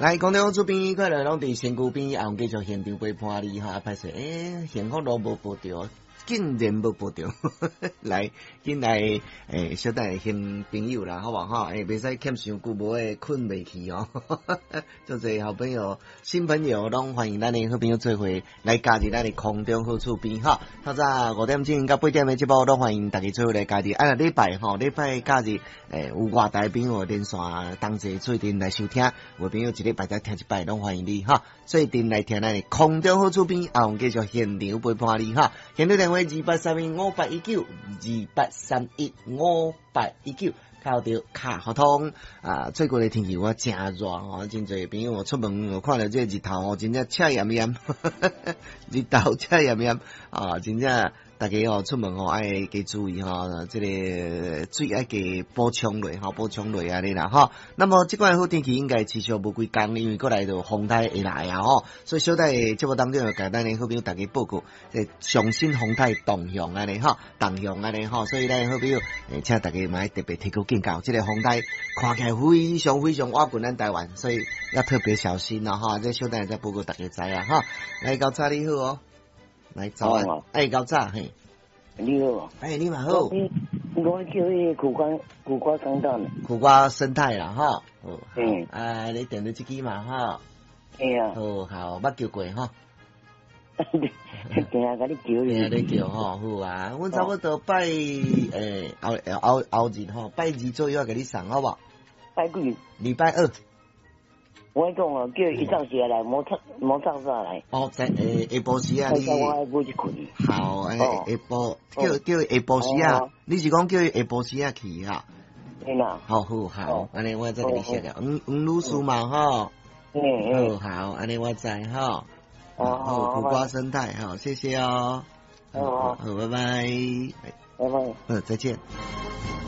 來，空中這邊快樂攏佇身軀邊，也繼續現場陪伴你哈。歹勢，欸，幸福路無報著，竟然無報著，來，緊來，欸，小等下新朋友啦，好無哈？欸，袂使欠傷久，無會睏袂去哦。足濟好朋友、新朋友攏歡迎咱的好朋友做伙來加入咱的空中好厝邊哈。透早5點鐘到8點的節目，攏歡迎大家做伙來加入。啊，禮拜吼，禮拜假日，欸，有外台朋友連線同齊做陣來收聽，有朋友一禮拜才聽一擺，攏歡迎你哈。做陣來聽咱的空中好厝邊，啊，阮繼續現場陪伴你哈。現場電話28315819，28315819。敲著卡互通啊！最近的天氣我誠熱吼，真濟朋友出門看著這個日頭吼，真正赤炎炎，日頭赤炎炎啊！真正大家哦出門吼愛加注意吼，這個水愛加補充落吼，補充落按呢啦吼。那麼這款好天氣應該持續無幾工，因為閣來就風颱會來啊吼，所以小弟節目當中就共咱的好朋友大家報告，這上新風颱動向按呢吼，動向按呢吼，所以咱好朋友，請大家嘛特別提高警覺，這個風颱看起來非常非常倚近咱台灣，所以要特別小心啦哈。這小等下再報告大家知啊哈。來，高早你好哦，來早安，哎，高早嘿，你好，哎，你嘛好，我叫彼個苦瓜苦瓜生態，苦瓜生態啦哈，嗯，哎，你點著這支嘛哈，哎呀，好好，捌叫過哈。定定共你叫，定定叫吼，好啊！阮差不多拜欸後後後日吼，拜二左右共你送好無？拜幾？禮拜二。我講哦，叫伊早時來，無早無早早來。哦，在下下晡時啊，你。我愛買一捆。好，欸，下晡叫叫下晡時啊，你是講叫伊下晡時啊去哈？對啦。好好好，按呢我再共你寫了，黃黃女士嘛吼。嗯嗯。好好，按呢我知吼。好，苦瓜生態，好，謝謝哦。好，好，拜拜。拜拜。嗯，再見。